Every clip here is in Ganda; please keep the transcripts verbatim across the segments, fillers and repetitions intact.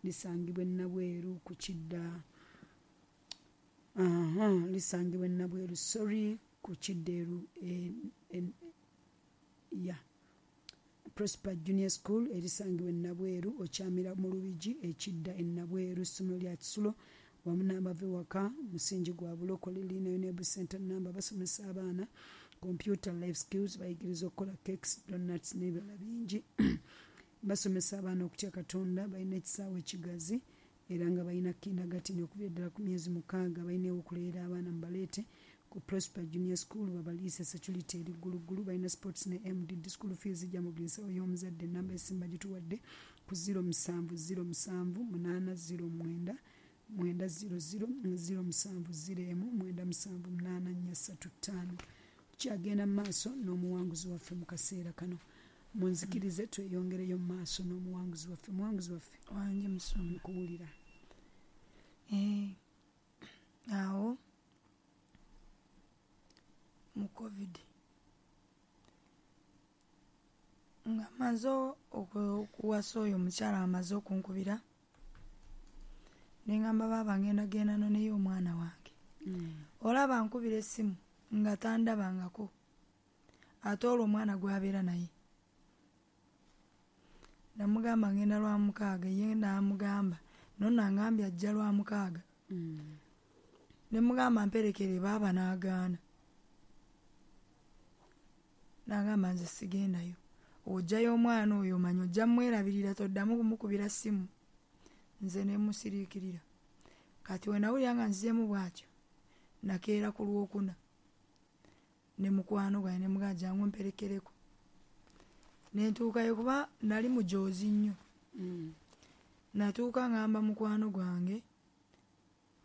Lisangibwa Nabweru ku kidda, aha, lisangibwa Nabweru, sorry, ku kiddeeru ya Prosper Junior School erisangibwa Nabweru, okyamira mu Lubigi ekidda e Nabweru. Essomero lya kisulo wamu n'abava ewaka, musingi gwa bulokole. Lirina UNEB center namba. Basomesa abaana computer, life skills, bayigiriza okukola cakes, donuts n'ebirala bingi. Basomesa abaana okutya Katonda. Balina ekisaawe ekigazi era nga balina kindergarten okuviira ddala ku myezi mukaaga. Balina ew'okuleera abaana. Mubaleete ku Prosper Junior School babaliise. Security eri gguluggulu. Balina sports ne M D D. School fees zijja mu buli nsawo y'omuzadde. Enamba esimba gituwadde ku zero musanvu zero musanvu munaana zero mwenda mwenda zero zero, zero musanvu zero emu mwenda musanvu munaana nnya ssatu ttaano. Tukyagenda mu maaso n'omuwanguzi waffe mu kaseera kano. Munzikirize tweyongereyo mu maaso n'omuwanguzi waffe. Muwanguzi waffe. Wange musumba. Nkuwulira. Eh, awo mu COVID nga maze okuwasa oyo omukyala, amaze okunkubira, neŋŋamba, "Baaba, ngenda genda noneyo omwana wange." Olaba nkubira essimu nga tandabangako, ate olwo omwana gwabeera naye. Namugamba ngenda lwa mukaaga, ye namugamba nonno angambye ajja lwa mukaaga. Nemugamba mperekere baaba, n'agaana, n'agamba nze sigendayo, ojjayo omwana oyo omanyi ojja mwerabirira, toddamu kumukubira ssimu. Nze nemusiriikirira. Kati wenawulira nga nzizeemu bw'atyo, nakeera ku Lwokuna ne mukwano gwange, nemugamba jangu mperekereko. Nentuukayo, kuba nali mujoozi nnyo. Natuuka ngamba mukwano gwange,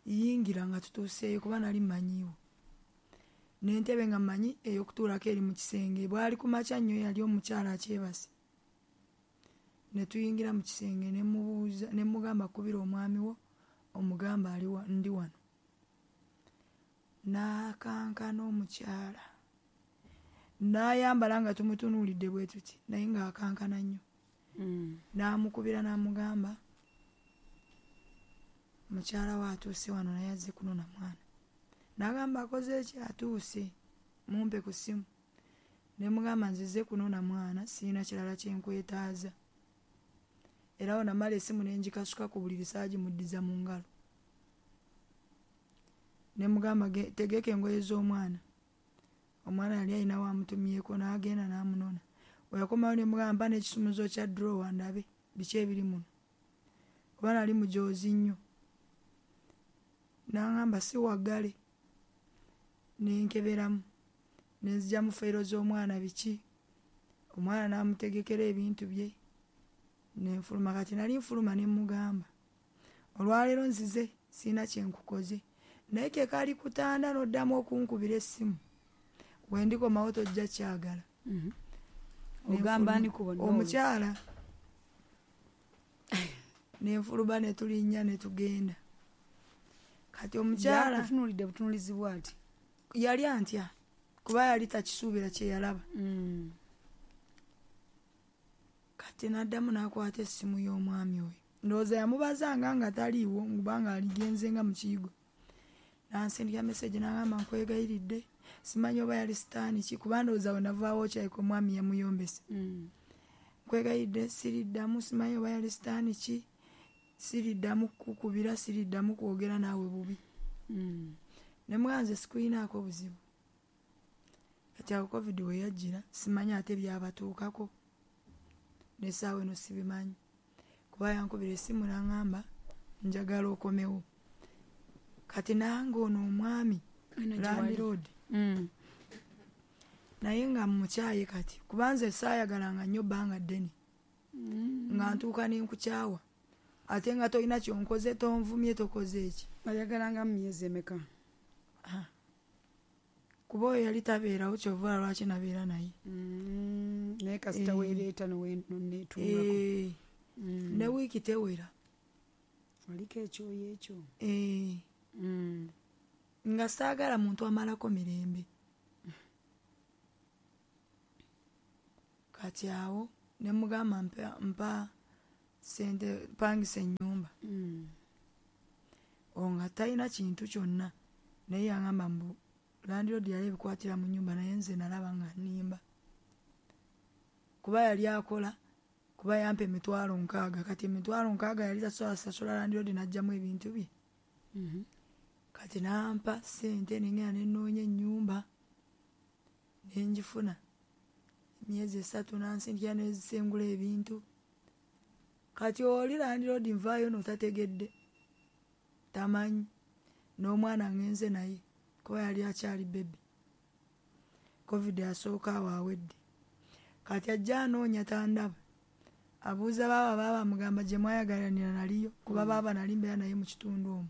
"Yingira," nga tutuuseeyo, kuba nali mmanyiiwo n'entebe nga mmanyi ey'okutuulako eri mu kisenge. Bwali ku makya nnyo, yali omukyala akyebase. Ne tuyingira mu kisenge, ne mubuuza, ne mugamba, "Kubira omwami wo omugamba ali ndi wano." N'akankana omukyala, n'ayambala nga tumutunuulidde bwe tuti, naye ng'akankana nnyo. N'amukubira n'amugamba mukyala we atuuse wano, naye azze kunona mwana. N'agamba, "Akoze eki? Atuuse? Mumpe ku ssimu." Ne mugamba, "Nzize kunona mwana, sirina kirala kyenkwetaaza." Era awo namala essimu ne ngikasuka ku buliri, saagimuddiza mu ngalo. Ne mugamba, "Tegeka engoye z'omwana." Omwana yali alina wamutumyeko, n'agenda n'amunona. Weyakomawo ne mugamba, "Mpa n'ekisumuzo kya drawer ndabe biki ebiri muno," kuba nali mujoozi nnyo. N'aŋŋamba si waggale. Nenkeberamu, nenzigyamu fayiro z'omwana, biki, omwana n'amutegekera ebintu bye, nenfuluma. Kati nali nfuluma, ne mugamba, "Olwaleero nzize sirina kyenkukoze, naye ke kali kutanda n'oddamu okunkubira essimu, wendikomawo tojja kyagala." Ogamba ani ku bonna? Omukyala. Nenfuluma, ne tulinnya ne tugenda. Kati omukyala yakutunuulidde butunuulizi bw'ati? Yali antya, kuba yali takisuubira kye yalaba. Kati n'addamu n'akwata essimu y'omwami oyo, ndowooza yamubazanga nga taliiwo, kubanga aligenze nga mu kiyigo. N'ansindika message n'agamba, "Nkwegayiridde." Simanyi oba yali sitaani ki, kuba ndowooza we navaawo kyayika omwami yamuyombesa. "Nkwegayiridde, siriddamu." Simanyi oba yali sitaani ki. "Siriddamu kukubira, siriddamu kwogera naawe bubi." Ne mugamba, "Nze sikuyinaako buzibu." Kati awo COVID we yajjira, simanyi ate byabatuukako n'essaawa eno sibimanyi, kuba yankubira essimu n'aŋŋamba, "Njagala okomewo." Kati nange ono omwami landlord naye nga mukyaye kati, kuba nze saayagalanga nnyo bbanga ddene, nga ntuuka nenkukyawa, ate nga tolina kyonkoze, tonvumye, tokoze eki. Oyagalanga mu myezi emeka? Kuba oyo yali tabeerawo, kyova lwaki nabeera naye. Naye kasita weereeta noneetungako. Eh, ne wiiki tewera. Oliko ekyoyo ekyo. Eh, nga saagala muntu amalako mirembe. Kati awo ne mugamba, mpa, mpa sente pangisa ennyumba." talina kintu kyonna. Naye yangamba mbu landlord yali ebikwatira mu nnyumba, naye nze nalaba nga nnimba. Kuba yali akola, kuba yampa emitwalo nkaaga, kati emitwalo nkaaga yali tasobola sasula landlord n'aggyamu ebintu bye. Mhm. Kati n'ampa ssente ne ngenda ne nnoonya ennyumba ne ngifuna. Emyezi esatu n'ansindikira ne zisengula ebintu. Kati oli landlord nvaayo n'otategedde, tamanyi, n'omwana ngenze naye kuba yali akyali baby. Covid asooka awo awedde. Kati ajja anoonya tandaba. Abuuza baaba, baaba amugamba gye mwayagalanira naliyo, kuba baaba nali mbeera naye mu kitundu omwo.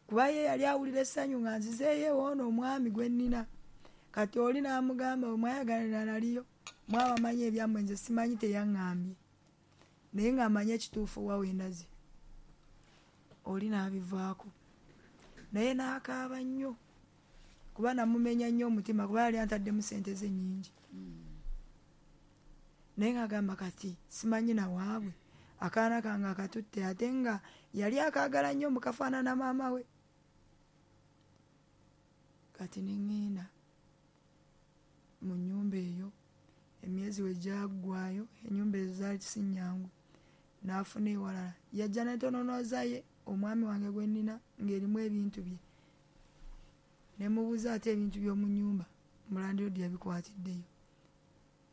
Kuba ye yali awulira essanyu nga nzizeeyo ewoono omwami gwe nnina. Kati oli n'amugamba bwe mwayagalanira naliyo, mwabamanyi ebyammwe nze simanyi teyaŋŋambye. Naye ng'amanyi ekituufu wa we ndaze. Oli n'abivaako. Naye n'akaaba nnyo. Kuba namumenya nnyo omutima kuba yali antaddemu ssente ze nnyingi. Naye ng'agamba kati simanyi na waabwe. Akaana kange akatutte ate nga yali akaagala nnyo mukafaanana maama we. Kati ne ŋŋenda mu nnyumba eyo, emyezi we gyaggwaayo, ennyumba ezo zaali si nnyangu. N'afuna ewalala. Yajja n'entononoza ye omwami wange gwe nnina ng'erimu ebintu bye. Ne mubuuza ate ebintu by'omu nnyumba, mulandlord yabikwatiddeyo.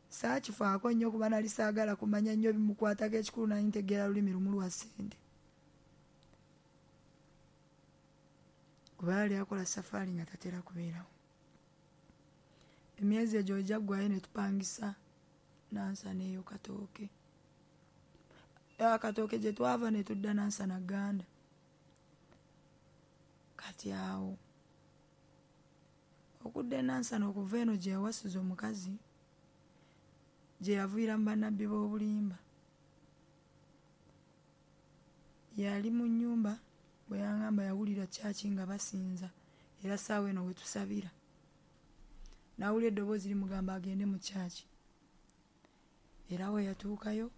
Saakifaako nnyo kuba nali saagala kumanya nnyo bimukwatako, ekikulu nali ntegeera lulimi lumu lwa ssente. Kuba yali akola safaari nga tatera kubeerawo. Emyezi egyo we gyaggwaayo ne tupangisa Nansana eyo Katooke. Katooke gye twava ne tudda Nansana Gganda. Kati awo okudda e Nansana okuva eno gye yawasiza omukazi, gye yaviira mu bannabbi b'obulimba. Yali mu nnyumba bwe yangamba yawulira kyaki nga basinza, era ssaawa eno we tusabira. N'awulira eddoboozi limugamba agende mu kyaki. Era we yatuukayo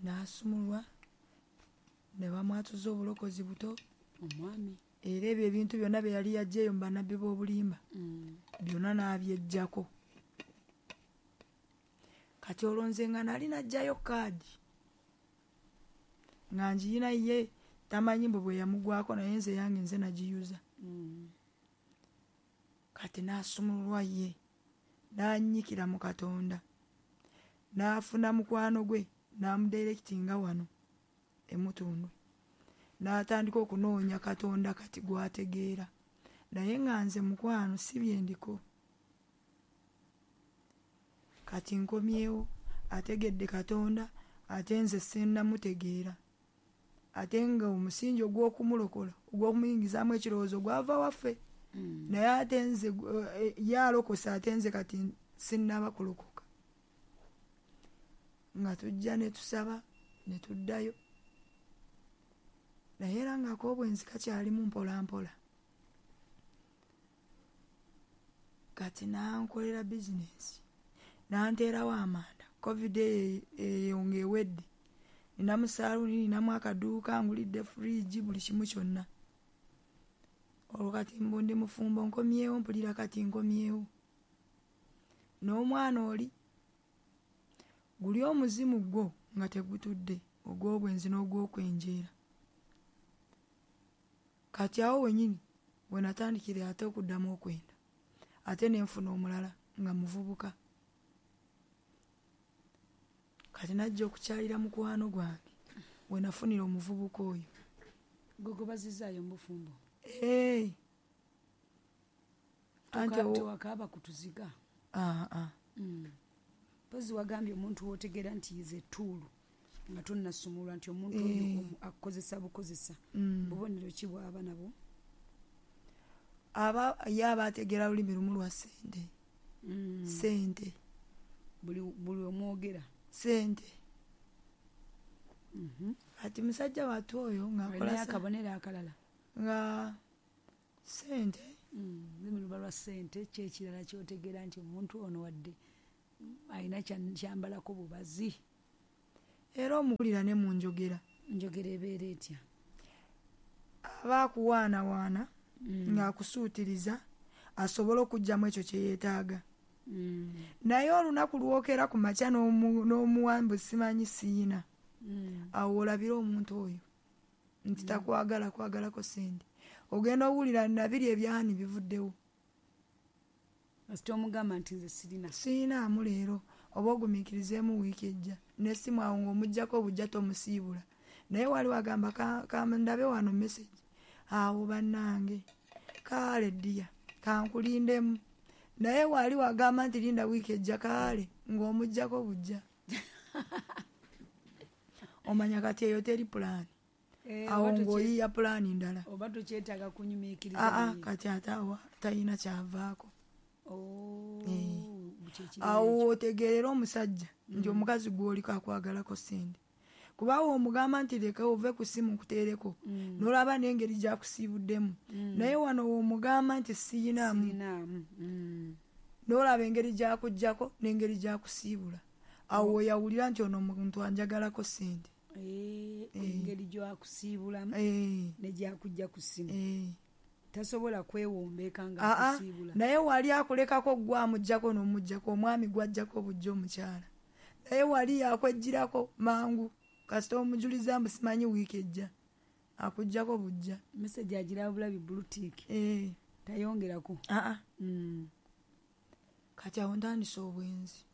n'asumulwa ne bamwatuza obulokozi buto. Omwami. Era ebyo ebintu byonna bye yali yaggyeyo mu bannabbi b'obulimba byonna n'abyeggyako. Kati olwo nze nga nali naggyayo kaadi nga ngiyina ye tamanyi mbu bwe yamugwako, naye nze yange nze nagiyuza. Kati n'asumululwa ye n'annyikira mu Katonda, n'afuna mukwano gwe n'amudirectinga wano e Mutundwe, n'atandika okunoonya Katonda kati gw'ategeera. Naye nga nze mukwano si bye ndiko. Kati nkomyewo ategedde Katonda, ate nze sinnamutegeera. Ate nga omusingi ogw'okumulokola, ogw'okumuyingizaamu ekirowoozo gwava waffe. Naye ate nze ye alokose, ate nze kati sinnaba kulokoka. Nga tujja ne tusaba ne tuddayo. Naye era ng'ak'obwenzi kakyalimu mpola mpola. Kati n'ankolera bizinensi, n'anteerawo amanda. Covid eyo ng'ewedde. Ninamu saaluuni, ninamu akaduuka, ngulidde fridge, buli kimu kyonna. Olwo kati mbu ndi mufumbo nkomyewo, mpulira kati nkomyewo. N'omwana oli guli omuzimu gwo nga tegutudde, ogw'obwenzi n'ogw'okwenjeera. Kati awo wennyini we natandikira ate okuddamu okwenda. Ate ne nfuna omulala nga muvubuka. Kati najja okukyalira mukwano gwange we nafunira omuvubuka oyo. Gwe gobazizaayo mu bufumbo? Ee. Anti tewakaaba kutuziga? Aa aa. Mpozi wagambye omuntu w'otegeera nti ze ttuulu nga tonnasumulwa nti omuntu oyo akukozesa bukozesa. Bubonero ki bw'aba nabwo? Aba ye aba ategeera lulimi lumu lwa ssente. Ssente. Buli buli omwogera? Ssente. Kati musajja wattu oyo ng'akola akabonero akalala? Nga ssente. Lulimi luba lwa ssente, ki ekirala ky'otegeera nti omuntu ono wadde alina kyambalako bubazi? Era omuwulira ne mu njogera. Njogera ebeera etya? Aba akuwaanawaana mm. ng'akusuutiriza asobole okuggyamu ekyo kye yeetaaga. Mm. Naye olunaku lwokera ku makya n'omuwambu simanyi siina. Mm. Awo olabira omuntu oyo nti takwagala kwagalako ssente. Ogenda owulira nabiri ebyani bivuddewo. Kasita omugamba nti nze sirina. Sirinaamu leero oba ogumiikirizeemu wiiki ejja n'essimu awo ng'omuggyako obujja tomusiibula. Naye waliwo agamba kandabe wano message. Awo bannange kaale ddiya kankulindemu. Naye wali wagamba nti linda wiiki ejja kaale ng'omuggyako bujja. Omanya kati eyo teri pulaani. Eh, awo ng'oyiiya pulaani ndala. Oba tokyetaaga kunyumiikiriza. Aa kati ate awo talina kyavaako. Oh, eh. Awo otegeerera omusajja mm. nti omukazi gw'oliko akwagalako ssente. Kuba omugamba nti leka ove ku ssimu nkuteereko mm. n'olaba n'engeri gy'akusiibuddemu. Mm. Naye wano w'omugamba nti siyinaamu. Sirinaamu. Mm. N'olaba engeri gy'akuggyako n'engeri gy'akusiibula. Awo oyawulira nti ono omuntu anjagalako ssente. Eh, engeri gy'akusiibulamu eh. ne gy'akujja ku ssimu. Eh. Tasobola kwewombeeka nga akusiibula. Naye wali akulekako gwe amuggyako n'omuggyako omwami gw'aggyako obujja omukyala. Naye wali yakweggyirako mangu kasita omujuliza mbu simanyi wiiki ejja akuggyako bujja. Message agiraba bulabi blue tick. Eh. Tayongerako. Aa. Mm. Kati awo ntandise obwenzi.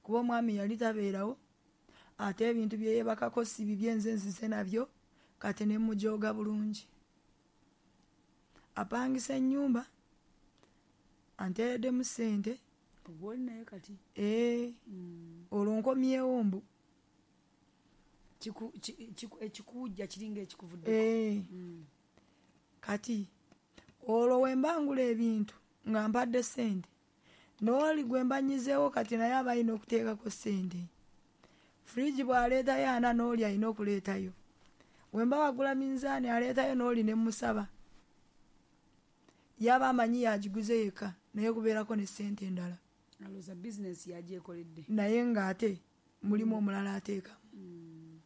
Kuba omwami yali tabeerawo ate ebintu bye yeebakako si bibye nze nzize nabyo kati ne mujooga bulungi. Apangisa ennyumba anteereddemu ssente. Ogw'oli naye kati? Eh. Mm. Olwo nkomyewo mbu. Ekikuwujja kiringa ekikuvuddeko. Eh. Mm. Kati olwo we mbangula ebintu nga mpadde ssente n'oli gwe mbanyizeewo kati naye aba alina okuteekako ssente. Fridge bw'aleetayo ana n'oli alina okuleetayo. We mba wagula minzaani aleetayo n'oli ne mmusaba. Yaba amanyi yagiguze yekka naye kubeerako ne ssente endala. Alowooza bizinensi yagyekoledde. Naye ng'ate mulimu omulala ateekamu. Mm.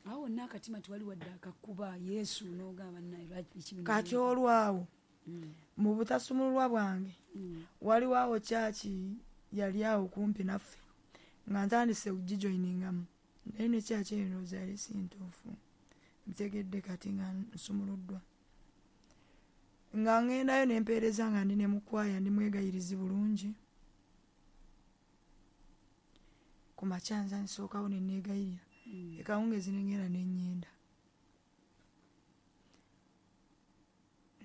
Awo wonna akatima tewali wadde akakuba Yesu n'ogamba naye lwaki biki bino Kati bye- olwawo Mm. mu butasumululwa bwange Mm. waliwo awo kyaki yali awo kumpi naffe nga ntandise okugijoyiningamu naye ne kyaki eyo ndowooza yali si ntuufu ntegedde kati nga nsumuluddwa. Nga ŋŋendayo ne mpeereza nga ndi ne mu kwaya ndi mwegayirizi bulungi. Ku makya nza nsookawo ne neegayirira. Mm. Ekawungeezi ne ŋŋenda ne nnyenda.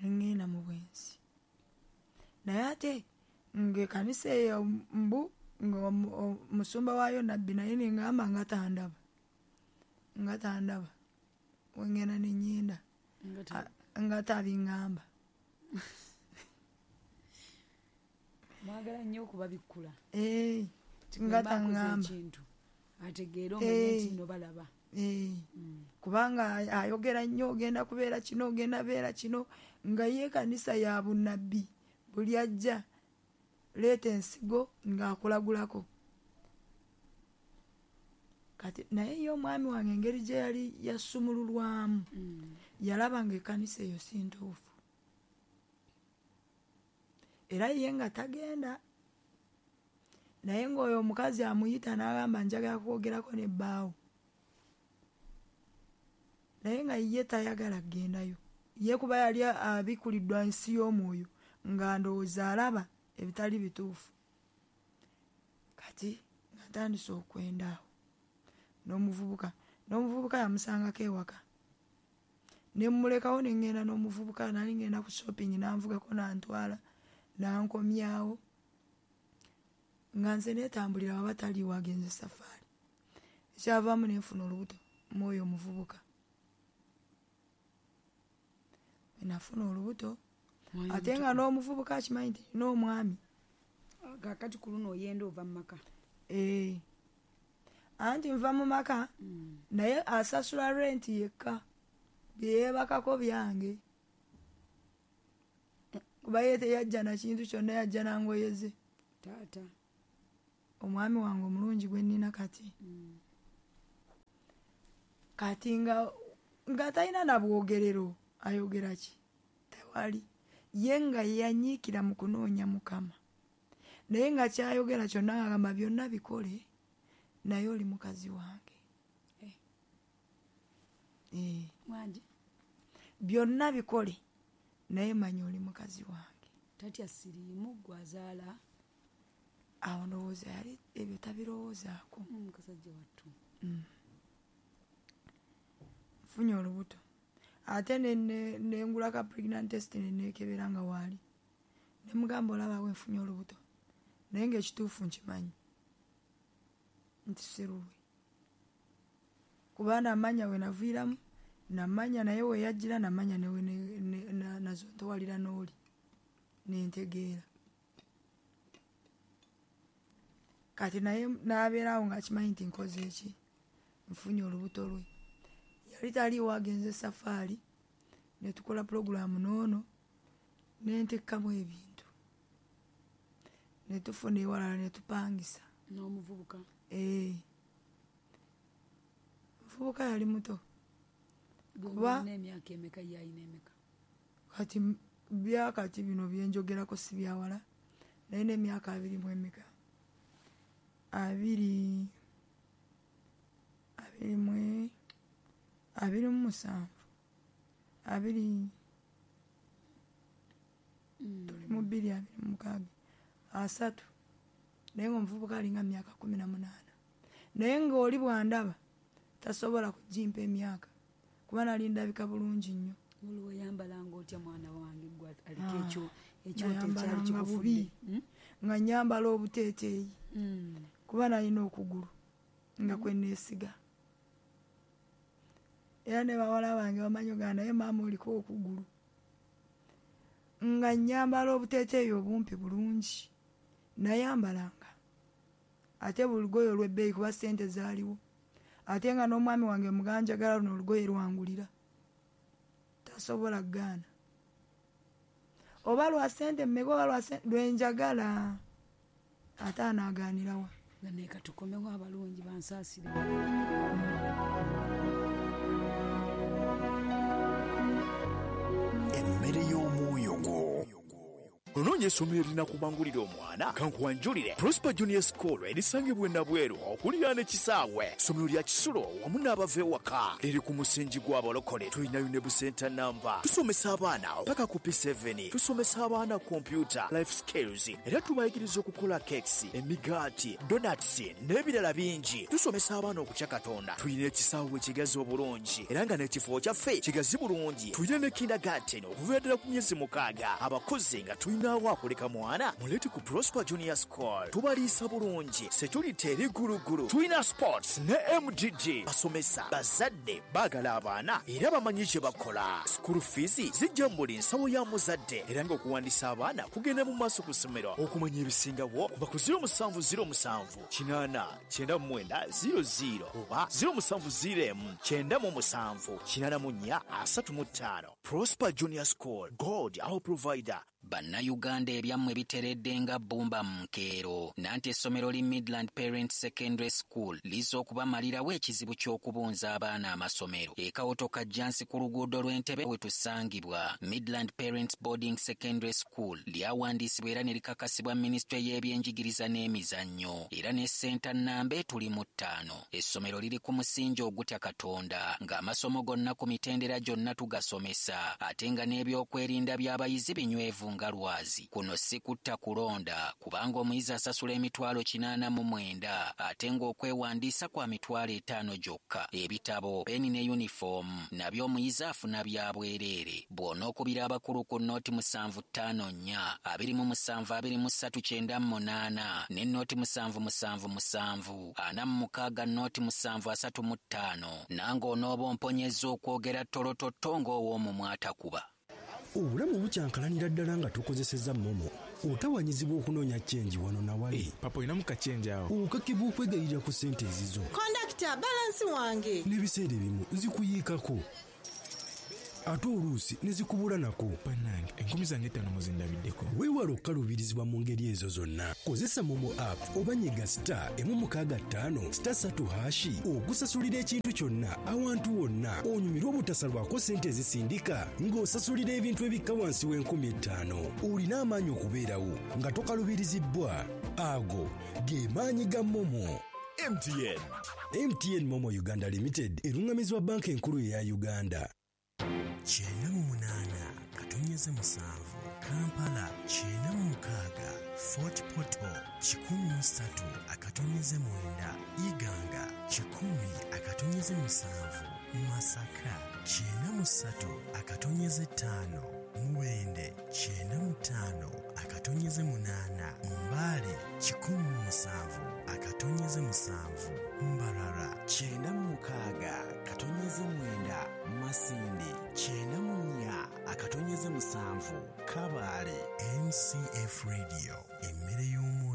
Ne ŋŋenda mu bwenzi. Naye ate ng'ekkanisa eyo mbu ng'omusumba waayo nabbi naye ne ŋŋamba nga tandaba. Nga tandaba. We ŋŋenda ne nnyenda. Nga ta- Nga tabiŋŋamba. Mwagala nnyo okubabikkula. Eh, Nti nga bwe mba nkoze taŋŋamba. ekintu ategeere omanye Eh. nti nno balaba. Eh. Mm. Kubanga ayogera nnyo ogenda kubeera kino ogenda beera kino nga ye ekkanisa ya bunnabbi buli ajja leeta ensigo ng'akulagulako. Kati naye ye omwami wange engeri gye yali yasumululwamu Mm. yalaba ng'ekkanisa eyo si ntuufu. Era ye nga tagenda. Naye ng'oyo omukazi amuyita n'agamba njagala kwogerako ne bbaawo. Naye nga ye tayagala kugendayo. Ye kuba yali abikkuliddwa nsi y'omwoyo nga ndowooza alaba ebitali bituufu. Kati nga ntandise okwenda awo n'omuvubuka. N'omuvubuka yamusangako ewaka. Ne mmulekawo ne ŋŋenda n'omuvubuka nali ŋŋenda ku shopping n'anvugako n'antwala n'ankomyawo. Nga nze neetambulira waba taliiwo agenze safaari. Ekyavaamu ne nfuna olubuto mu oyo omuvubuka. Bwe nafuna olubuto Mwoyo ate nga omutukuvu. n'omuvubuka akimanyi nti nina omwami. Kaakati ku luno oyenda ova mu maka. Eh. Anti nva mu maka Mm. naye asasula renti yekka. Bye yeebakako byange. Kuba ye teyajja na kintu kyonna yajja na ngoye ze. Taata. Omwami wange omulungi gwe nnina kati. Mm. Kati nga Nga talina na bwogerero ayogera ki? Tewali. Ye nga yanyiikira mu kunoonya Mukama. Naye nga kyayogera kyonna agamba byonna bikole naye oli mukazi wange. Eh. Eh. Wangi. Byonna bikole naye manya oli mukazi wange. Tatya siriimu gwazaala. Awo ndowooza yali ebyo tabirowoozaako. Musajja wattu. Mm. Nfunye olubuto. Ate ne ngulako pregnant test ne neekebera nga waali. Ne mugamba olaba we nfunye olubuto. Naye ng'ekituufu nkimanyi nti si lulwe. Kuba namanya we naviiramu, namanya naye we yajjira, namanya ne we nazontowalira n'oli. Nentegeera. Kati naye n'abeerawo ng'akimanyi nti nkoze eki, nfunye olubuto lwe. Yali taliiwo agenze safaari, ne tukola pulogulaamu n'ono, ne ntekkamu ebintu. Ne tufuna ewalala ne tupangisa. N'omuvubuka? Ee. Omuvubuka yali muto. Kuba n'emyaka emeka ye alina emeka? Kati byakati bino bye njogerako si byawala, naye n'emyaka abiri mu emeka. Abiri, abiri mu, abiri mu musanvu, abiri, tuli mu bbiri abiri mu mukaaga, asatu. Naye ng'omuvubuka alinga myaka kumi na munaana. Naye ng'oli bw'andaba tasobola kugimpa emyaka kuba nali ndabika bulungi nnyo. Waliwo oyambalanga otya mwana wange gwe aliko ekyo ekyoto ekyali kikufudde? Nga nnyambala obuteeteeyi kuba nalina okugulu nga kwe neesiga. Era ne bawala bange bamanyi ogamba naye maama oliko okugulu. Nga nnyambala obuteeteeyi obumpi bulungi. Nayambalanga. Ate buli lugoye olw'ebbeeyi kuba ssente zaaliwo. Ate nga n'omwami wange muganjagala luno olugoye lwangulira. Tasobola kugaana. Oba lwa ssente mmeka oba lwa ssente lwe njagala. Ate anaagaanirawa. Nga naye katukomewo abalungi bansaasire. Emmere y'omwoyo gwo. Onoonya essomero erinakubangulira omwana kankuwanjulire Prosper Junior School erisangibwa e Nabweru okuliraana ekisaawe. Ssomero lya kisulo wamu n'abava ewaka liri ku musingi gw'abalokole. Tulina UNEB Center namba. Tusomesa abaana paka ku P seven. Tusomesa abaana computer, life skills, era tubayigiriza okukola cakes, emigaati, donuts n'ebirala bingi. Tusomesa abaana okutya Katonda. Tulina ekisaawe ekigazi obulungi era nga n'ekifo kyaffe kigazi bulungi. Tulina ne kindergarten okuviira ddala ku myezi mukaaga. Abakozi nga tulina awakuleka mwana mulete ku Prosper Junior School. Tubaliisa bulungi, security eri gulugulu. Tulina sports ne M D D. Basomesa bazadde baagala abaana era bamanyi kye bakola. School fees zijja mu buli nsawo ya muzadde era ng'okuwandiisa abaana kugenda mu maaso ku ssomero. Okumanya ebisingawo kuba ku zero musanvu zero musanvu kinaana kyenda mu mwenda zero zero oba zero musanvu zero emu kyenda mu musanvu kinaana mu nnya asatu mu ttaano. Prosper Junior School, God our provider. Bannayuganda ebyammwe biteredde nga bbumba mu nkeero. Nanti essomero li Midland Parents Secondary School lizza okubamalirawo ekizibu ky'okubunza abaana amasomero. Ekawuto Kajjansi ku luguudo lw'Entebe we tusangibwa. Midland Parents Boarding Secondary School lyawandiisibwa era ne likakasibwa minisitule y'ebyenjigiriza n'emizannyo era ne ssenta nnamba etuli mu ttaano. Essomero liri ku musingi ogutya Katonda ng'amasomo gonna ku mitendera gyonna tugasomesa ate nga n'ebyokwerinda by'abayizi binywevu nga lwazi. Kuno si kutta kulonda kubanga omuyizi asasula emitwalo kinaana mu mwenda ate ng'okwewandiisa kwa mitwalo etaano gyokka. Ebitabo, peni ne yunifoomu nabyo omuyizi afuna bya bwereere. Bw'onookubira abakulu ku nnooti musanvu ttaano nnya abiri mu musanvu abiri mu ssatu kyenda mu munaana ne nnooti musanvu musanvu musanvu ana mu mukaaga nnooti musanvu asatu mu ttaano nange onooba omponyezza okwogera ttolototto ng'ow'omumwa atakuba. Obulamu bukyankalanira ddala nga tukozesezza MoMo. Otawanyizibwa okunoonya change wano na wali. Hey, papa olinamu ka change awo. Okakibwa okwegayirira ku ssente ezizo. Kondakita, balansi wange. N'ebiseera ebimu zikuyiikako. Ate oluusi ne zikubula nako. Bannange, enkumi zange ettaano muzindabiddeko. Weewale okukaluubirizibwa mu ngeri ezo zonna. Kozesa MoMo app oba nyiga star emu mukaaga ttaano star ssatu hash okusasulira ekintu kyonna awantu wonna, onyumirwe obutasalwako ssente ezisindika ng'osasulira ebintu ebikka wansi w'enkumi ettaano. Olina amaanyi okubeerawo nga tokalubirizibbwa. Ago ge maanyi ga MoMo. M T N. M T N MoMo Uganda Limited erungamizibwa Banka Enkulu eya Uganda. Kyenda mu munaana katonyeze musanvu Kampala, kyenda mu mukaaga Fort Portal, kikumi mu ssatu akatonyeze mwenda Iganga, kikumi akatonyeze musanvu Masaka, kyenda mu ssatu akatonyeze ttaano Mubende, kyenda mu ttaano akatonyeze munaana Mbale, kikumi mu musanvu akatonyeze musanvu Mbarara, kyenda mu mukaaga katonyeze mwenda Masindi, kyenda mu nnya akatonyeze musanvu Kabaale. M C F Radio, emmere y'omwoyo.